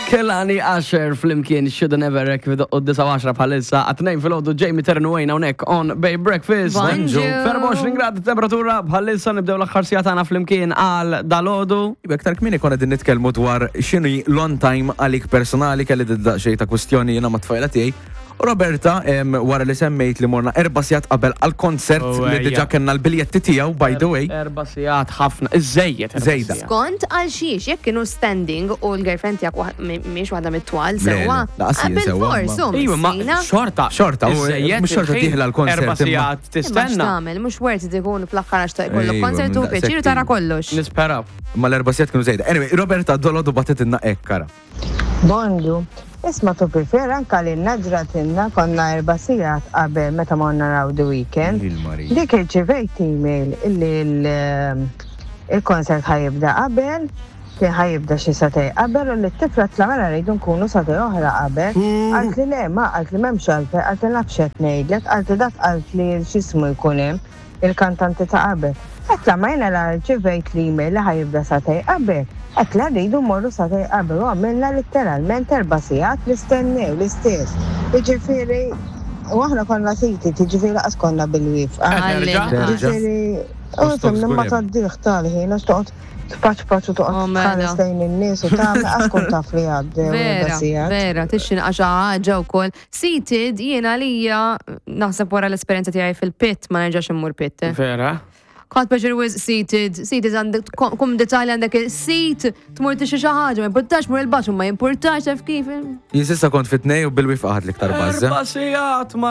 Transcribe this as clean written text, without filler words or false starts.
Kelani Asher flimkien Shoulda Never Wreck fi doqqu 9 bħalissa għat-tnejn filgħodu Jamie Ternu Wayne hawnhekk on Bay Breakfast. Bonġu. 24 grad temperatura bħalissa nibdew l-aħħar sigħa tagħna flimkien għal dalodu. Iva, Iktar kmieni konna din nitkellmu dwar x'inhi l-on time għalik personali kelli daqsxejn ta' kwistjoni jiena mat-tfajla tiegħi. U Roberta, wara li semmejt li morna 4 sigħat qabel għal-konsert Oh, li ejja. diġà kellna l-biljetti tiegħu, by the way. 4 sigħat ħafna, iżejjed. 4 Żejda. sigħat. Skont għal xiex, jekk kienu standing u l-girlfriend tiegħek mhix waħda mit-twal Le, sewwa. le, laqas jien sewwa, Bil-fors, ma- u Iva, ma miskina. xorta. Xorta, u- iżejjed mhux xorta il-ħin, dieħla l-konsert, Erba' imma- sigħat Imma tistenna. x'tagħmel, mhux worth it ikun fl-aħħar għax ta' jkollok Ejwa, konsert u minn pjaċir u daqshekk tara ilu. kollox. Nisperaw. Ma l-4 sigħat kienu żejda. Anyway, Roberta dolodu bagħtitilna hekk, kara. Bonġu, isma tu prefer anka li ġratilna konna 4 sigħat qabel meta morna naraw The Weeknd. Il-Marija. Dik irċivejt email illi il-konsert ħa jibda qabel, kien ħa jibda xi sagħtejn qabel u li t-tifla tla mela rridu nkunu sagħtejn oħra qabel. Qaltli le, ma qaltli m'hemmx għalfejn, qaltli naf x'qed ngħidlek, qaltli dak qaltli x'ismu jkun hemm il-kantanti ta' qabel. Għedtla ma jiena la rċivejt l-email li ħa jibda sagħtejn qabel. Għedtla rridu mmorru sagħtejn qabel u għamilna letteralment 4 sigħat nistennew l-istess. Jiġifieri, u aħna konna seated, jiġifieri laqas konna bil-wieqfa. Terġa'? Jiġifieri, u U stop fimni ma żgur hemm. tgħaddih tal-ħin, għax toqgħod tpaċpaċ u Oh, toqgħod mela. tħares lejn in-nies u tagħmel qas kont taf li għaddew erba' Vera, sigħat. vera, tixin għaxa ħaġa wkoll. Seated, jiena lija, naħseb wara l-esperjenza tiegħi fil-pit, ma nerġax immur pit. eh. Vera. Kont pleasure with seated, seated għandek kumdità li għandek il-seat, tmur tixi xi ħaġa, ma jimpurtax mur il-bathroom, ma jimpurtax taf kif. Jien s'issa kont fit-tnej u bil-wieqfa ħadt l-iktar buzz. 4 sigħat ma.